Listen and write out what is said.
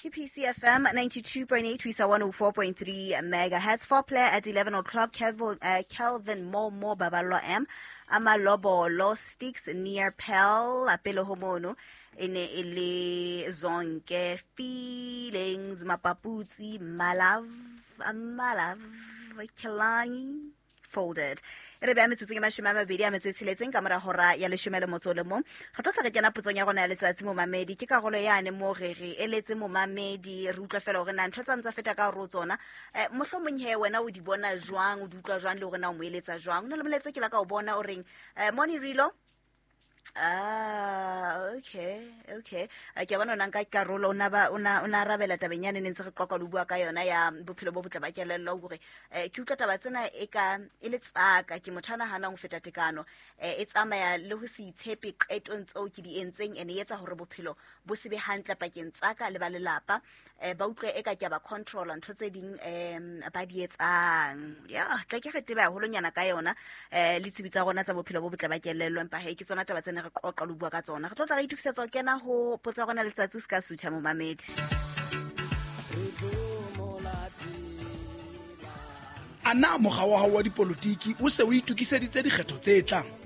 Ke PCFM 92.8 ho isa 104.3 megahertz. For player at 11 o'clock, Kelvin Momo Babalwa M. Amalobolo sticks near Pell, pele ho mono. E ne e le Zonke Feelings, Mapaputsi, Malav, Malav, Kelani. Folded. E re beha metsotsong e 20 a metso e tsheletseng ka mora hora ya 11 le motso o le mong. Re tlo tla re kena potsong ya rona ya letsatsi momamedi. Ke karolo yane mo re re eletse momamedi, re utlwa fela hore na ntho tsa ntsa feta ka hore o tsona. Mohlomong he wena o di bona jwang, o di utlwa jwang le hore na o mo eletsa jwang. Ho na le molaetsa ke la ka o bona o reng, Moni Rilo. Ah, okay, okay. Ke a bona o na nka karolo, o na ba, o na, o na arabela tabeng yane ne ntse re qoqa le ho bua ka yona ya bophelo bo botle ba kelello, hore, ke utlwa taba tsena e ka, e le tsaka, ke motho a nahanang ho feta tekano, e tsamaya le ho se itshepe qetong tseo ke di entseng, ene e etsa hore bophelo bo se be hantle pakeng tsaka le ba lelapa, ba utlwe e ka ke a ba controller ntho tse ding, ba di etsang. Ya, tla ke re tebe haholonyana ka yona, le tsebi tsa rona tsa bophelo bo botle ba kelello, empa he ke tsona taba tsene re qoqa le bua ka tsona. Re tlo tla re itokisetsa ho kena ho potso ya rona letsatsi, o se ka sutha momamedi. A na mokga wa hao wa dipolotiki o se o itokiseditse dikgetho tse tlang?